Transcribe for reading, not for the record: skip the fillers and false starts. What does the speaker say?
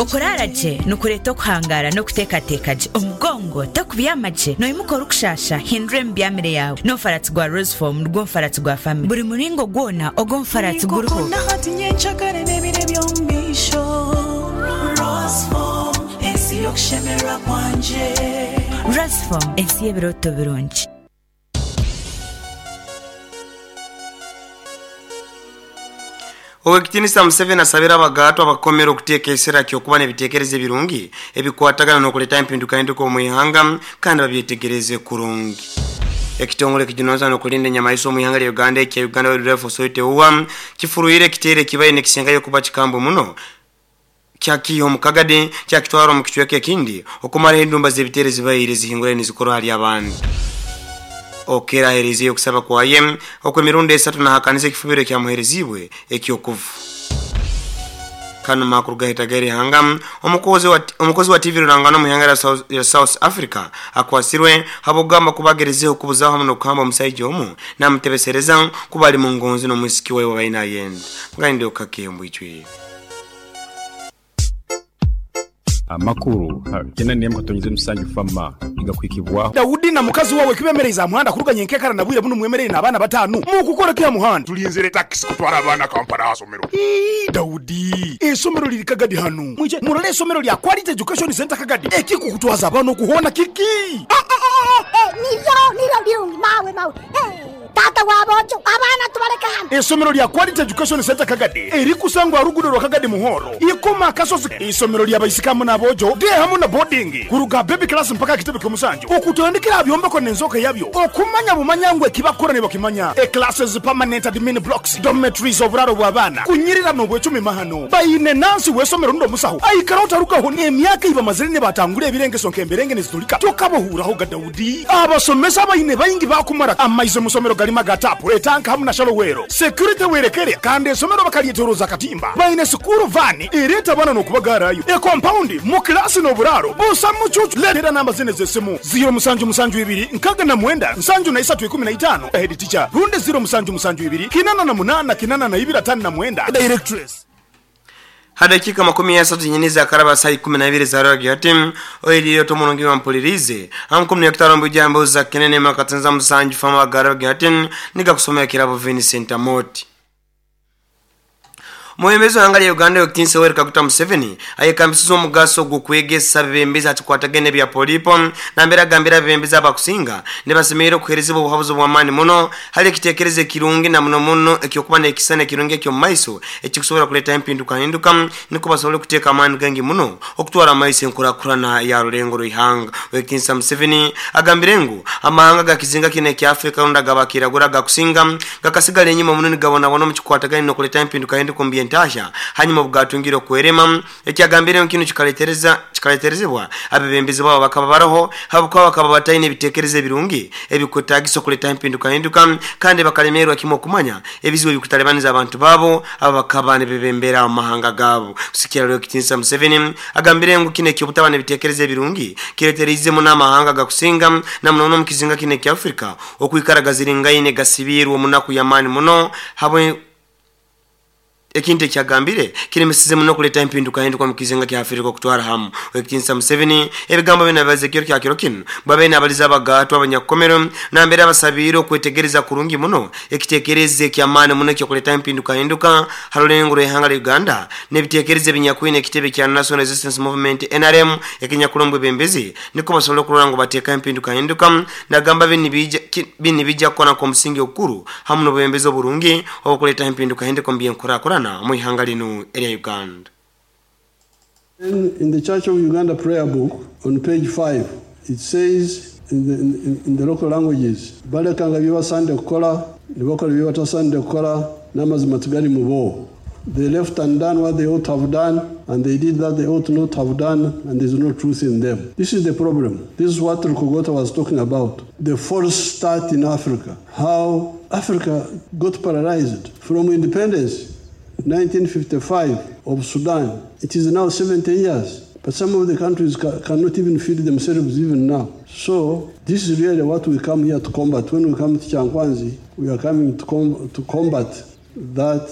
Okuraara gye nikureeta okuhangaara n'okuteekateeka gye. Omugongo tokubyama gye, noimuka orikushaasha, hindura emibyamire yaawe. N'omufaratsi gwa Rosefoam nigwo mufaratsi gwa famire. Buri muringo gwona ogw'omufaratsi guriho. Nikukunda hati, nyencakare n'ebiro eby'omu maisho. Rosefoam, ensi y'okushemererwa kwangye. Rosefoam, ensi y'ebirooto birungi. Owekitinisa Museveni asabire abagaatwa abakomere okuteeka esira kyokuba n'ebitekerezo ebirungi ebikwatagana n'okuleta empindukahinduka omu ihanga kandi babyetegereze kurungi. Ekitongole ekijunanizibwa n'okulinda enyamaiswa omu ihanga lya Uganda ekya Uganda Wildlife Authority UWA kifuruire ekiteero ekibaire nikisingayo kuba kikambwe muno kyakiiha omu Kagadi kyakitwara omu kicweka ekindi okumaraho endumba z'ebiteero ezibaire zihingurayo nizikorwa hali abantu. Okello ahereizeyo okusaba kwaye okw'emirundi esatu nahakaniza ekifubiro ekyamuhereziibwe eky'okufa. Kanu makuru gahetaga erihanga, omukozi wa TV Rurangano omu ihanga lya South Africa akwasirwe habw'okugamba kuba agerezeho kubuzaho hamu n'okuhamba omusaija omu namutebesereza kuba ali mungonzi n'omwisiki waye owabaire nayenda. Ngainde okake omu bwijwire. Amakuru ha kyenda n'emwe katonyeze musanju fama nigakuhikibwaho. Daudi na mukazi wawe kibemereize aha muhanda kuruga nyenkekara na bwire bunu mwemereire n'abaana bataanu. Mukukora ki aha muhanda? Tulinzire takisi kutwara abaana Kampala aha somero. Ii, Daudi, eisomero liri Kagadi hanu. Mwije murole eisomero lya Quality Education Centre Kagadi. Ekikukutwaza abaana okuhoona kiki? Nibyo, nibyo birungi mawe mawe. Taata wa boojo, abaana tubaleke hano. Eisomero lya Quality Education Centre Kagadi erikusangwa aha ruguudo rwa Kagadi Muhoro, Ikoma Akasozi. Eisomero lya baisiki hamu n'aboojo, day hamu na boarding, kuruga aha baby class mpaka aha kitebe ky'omusanju. Okutandikira aha byombeko n'enzooka yabyo, okumanya bumanya ngu ekibakukora nibakimanya. E Classes, permanent admin blocks, dormitories, oburaaro bw'abaana, kunyirira n'obwecumi mahano. Baine nansi w'eisomero rundi omusaho aikara otarugaho n'emyaka ei bamazire nibatangura ebirengeso nk'emberenge nizitulika. Tokabahuuraho ga Daudi. Abasomesa abaine baingi baakumara amaizi omu isomero garimu aga taapu, etanka hamu na shallow well. Security werekere kandi eisomero bakaryetoroza akatimba. Baine sikuuru vaani ereeta abaana n'okubagaarayo. Ekompaundi mu kilaasi n'oburaaro busa mucuucu. Leetera namba zinu ez'esimu, ziiro musanju musanju ibiri nkaaga na mwenda nsanju na isatu ikumi na itaano, Head teacher, rundi ziiro musanju musanju ibiri kinana na munaana kinana na ibiri ataano na mwenda, Directress. Ha dakika 30 nyini za karaba saa 12 za rogi hati oilio tomulungi wa mpulirize ankum ni kitaro mbujambo za kinene makatenza musanju fama garogi hati niga kusomea kirabo Vincent Amoti. Muhembezi wa hanga ya Uganda Okitinsa Yoweri Kaguta Museveni ayekambisiza omugaso gw'okwegesa abebembezi atikwatagene bya polipo nambere agambira abebembezi abakusinga nibasemereire okuherezibwa obuhabuzi bw'amaani muno hali ekitekerezo ekirungi na muno muno ekyokuba n'ekisana ekirungi eky'omu maiso ekikusobora kuleeta empindukahinduka niko basobole kuteeka amaani gangi muno okutwara amaiso enkurakurana ya rulengo rw'ihanga. Okitinsa Museveni agambire ngu amahanga gakizinga kino ekya Afrika rundi agabakiragura agakusinga gakasigala enyuma muno nigabonabona omu kikwatagane n'okuleeta empindukahinduka omu by'entahya hanyuma bwatungire okwerema ekyagambire kino kikaleterezebwa abebembezi babo bakaba baroho habwokuba bakaba bataine ebitekerezo ebirungi ebikwetagisa okuleta empindukahinduka kandi bakalemerwa kimwe okumanya ebizibu ebikutalibaniza abantu babo aba bakaba nibebembera omu mahanga gabo. Kusikira leo Kitinsa Museveni agambire ngu kino ekyobutaba n'ebitekerezo ebirungi kiretereizemu n'amahanga gakusinga na muno omu kizinga kino ekya Afrika okwikara gaziringaine gasibirwe omunaku y'amaani muno habwe ekintu ekyagambire kiremesize muno kuleta empindukahinduka omu kizinga kya Afrika okutwara hamu. Okitinsa Museveni ebigambo bino abibaza ekiro kya kiro kinu babe nabaliza abagaatwa abanyakukomero nambere abasabiire okwetegereza kurungi muno ekitekerezo eky'amaani muno ekyokuleta empindukahinduka ha rulengo rw'ihanga lya Uganda n'ebitekerezo ebinyakwine ekitebe kya National Resistance Movement NRM ekinyakulombwa ebembezi niko basobole okurora ngu bateeka empindukahinduka nagamba bini bijja kukora nk'omusingi ogukuru hamu n'obwebembezi oburungi obukuleeta empindukahinduka omu byenkurakurana omu ihanga linu erya Uganda. In the Church of Uganda prayer book on page 5, it says in the local languages, balekanga bye basande kukola, ne bakola bye batasande kukola, n'amazima tigali mu bo. They left undone what they ought to have done, and they did that they ought not have done, and there's no truth in them. This is the problem. This is what Rukogota was talking about. The false start in Africa. How Africa got paralyzed from independence, 1955 of Sudan. It is now 70 years. But some of the countries cannot even feed themselves even now. So this is really what we come here to combat. When we come to Kyankwanzi, we are coming to combat that